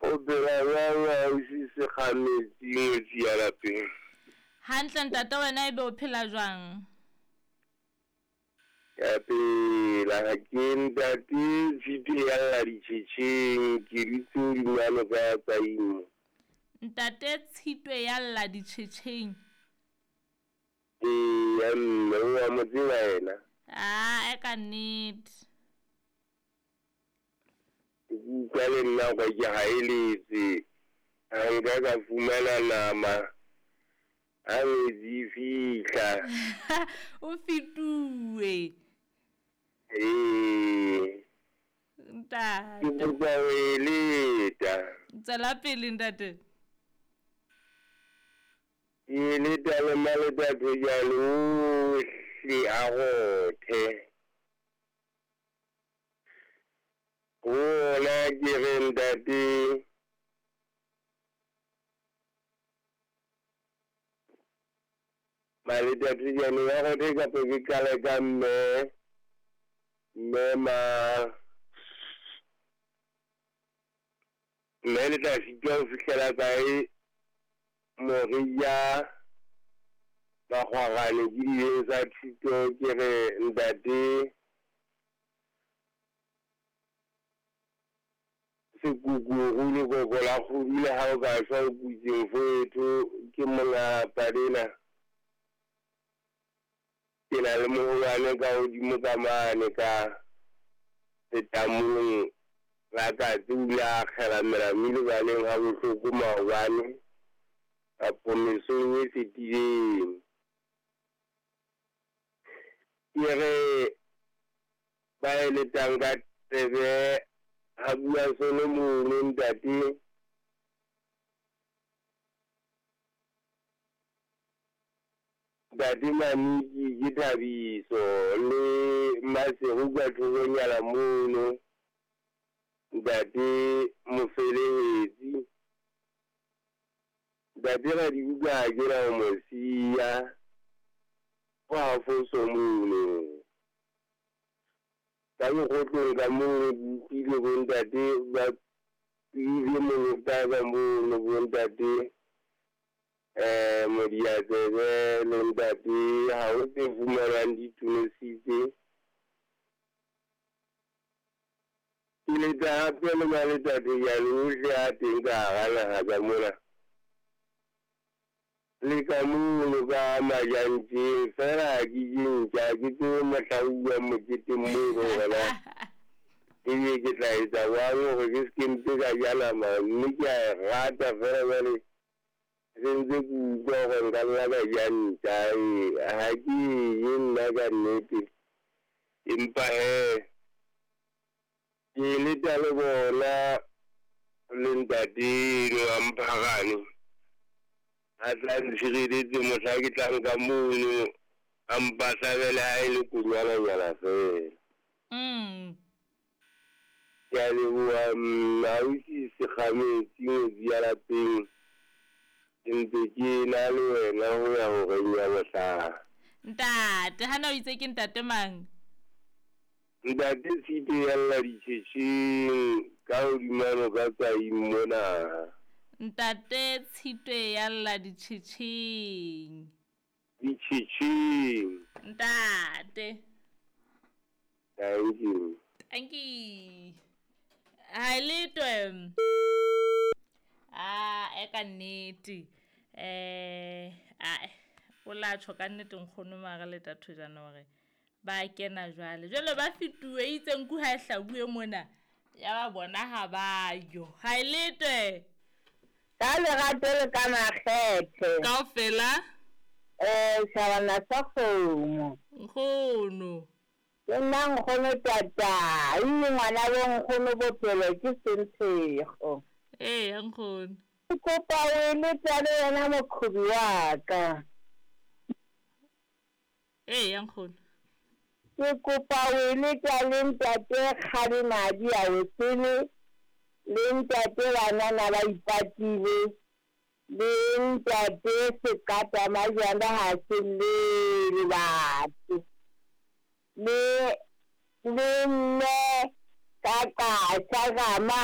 O phela jwang ausi Sekgametsi ngwetsi ya lapeng? Hantle ntate wena ebe o phela jwang? Ke a phela ha ke ntate Tshitwe ya lla ditjhetjheng ke dutse hodima noka ya Tsaimo. Ntate Tshitwe ya lla ditjhetjheng. Eya mme o a mo tseba yena? Aa ka nnete. Ke utlwa le nna gore ke gaeletse ga nka ka fumana nama ha ngwetsi e fihla. O fetuwe. Ee. Ke Ntate. kopa ho e leta. Tswela pele ntate. Ke e leta le maletathojane ohle a rothe. Ho ona ke re ntate Maletathojane wa rothe kapa ke qale ka mme mme ma mme le tla sitwa ho fihlela kae Moria Makgwarane ke dileng sa thuto ke re ntate Sekukuru lekoko la kgodu le ha o ka shwa o kutse mfowetho ke monga padena ke na le moholwane ka hodimo ka mane ka letamong la katse o ile a akgela melami lebaleng ha bohloko maobane kapo mesong e fetileng. Ke re ba eletang ka tsebe ha bua Solomone ntate. Ntate Maniki ke Thabiso le Maseru ka thokonyana mono ntate Mofelehetsi. Ntate Radibuka ha ke na ho mo siya ko ha foso mono. Ka lekgotleng ka mono ke utlwile bo ntate ba ile molota ka mono bo ntate Modiatsebe le ntate ha ho tse fumanwang di thunositse. Ke leta hape le maletathejane ohle a teng ka hara naha ka mona. Le ka mono ka Majantjeng feela ha ke je ntja ha ke tsebe mohla ho uwang moketeng mono hore na ebe ke tla etsa jwang hore ke se ke mpe ka ja nama mme ke a e rata feela jwale se ntse ke utlwa hore nka nna ka ja ntja ee ha ke e je nna ka nnete empa hee ke leta le bona le ntate eno a Mpharane a tla ntshireletse mohla ke tlang ka mono a mpa hlabele ha e le konyananyana feela. Ke a leboha mme ausi Sekgametsi ngwetsi ya lapeng ke ntse ke na le wena ho ya horeng ya bohlano. Ntate, hana o itse ke ntate mang? Ntate Tshitwe ya lla ditjhetjheng ka hodima noka Tsaing mona. Ntate Tshitwe ya lla ditjhetjheng. Ditjhetjheng. Ntate. Thank you. Thank you. Ha e letwe. A e ka nnete. Ae o la tjho ka nnete nkgono mara le tathojana hore ba kena jwale. Jwale ba fetuwe itse nku ha e hlabuwe mona ya ba bona ha ba yo. Ha e letwe. Ka lerato le ka makgethe. Kaofela. Shabana sa kgomo. Nkgono. Ke nna nkgono tata, mme ngwana bo nkgono bophelo ke sentshego. Ee, nkgono. Ke kopa o eletsa le wena mokgobi wa ka. Ee, nkgono. Ke kopa o eletsa le ntate Kgalemadi a Wesele, le ntate banana ba ipatile, le ntate Sekata Majwanda ha se llele batho. Le mme ka qasha ka mane.